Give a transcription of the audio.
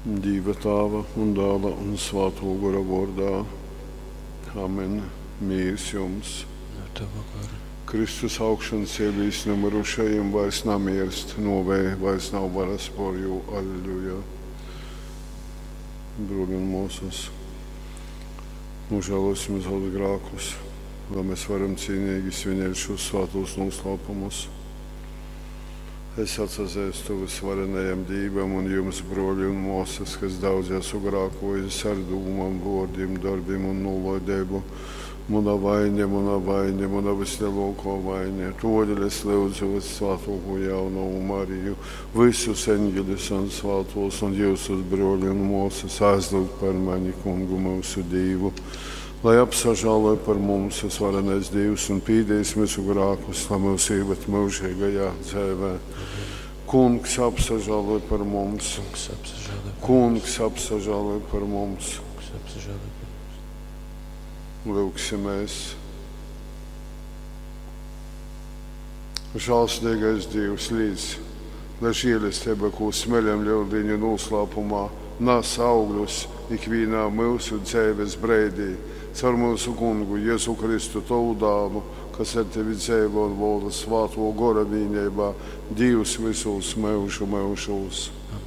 Dīva Tāva un Dāla un Svātō Gora vōrdā. Amen. Mīrs jums. Ar tavu goru. Kristus augšancēlīs nu myrušajim vairs namierst, nōvei vairs nav varas pōr jū. Alleluja. Bruoli un mōsas, nožēlosim savus grākus, lai mēs varam cīnīgi svinēt šos svātos noslēpumus. Es atsazeistu visvarenajam Dīvam un jums, broļi un māsas, kas daudz esmu grākojis ar dūmām, vārdiem, darbiem un nolaidību. Mana vaina, mana vaina, mana vislielākā vaina. Todēļ es lūdzu vissvētāko jaunavu Mariju, visus eņģeļus un svētos un jūsus broļi un māsas aizlūgt par mani, kungu mūsu Dīvu. Lai apsažāloj par mums visvarenais Dievs un pīdīs mūsu grākus, lai mūs ieved mūžīgajā dzīvē. Kungs apsažāloj par mums. Kungs apsažāloj par Kungs apsažāloj par mums. Kungs apsažāloj par mums. Lūgsimies. Žēlsirdīgais Dievs līdz, lai žēlastība, ko smeļam lieldiņu noslēpumā, nes augļus ikvienā mūsu dzīves brīdī, caur mūsu kungu Jēzu Kristu, tavu dālu, kas ar tevi dzīvo un valda svāto gora vienībā, Dievs visos mūžu mūžos. Amen.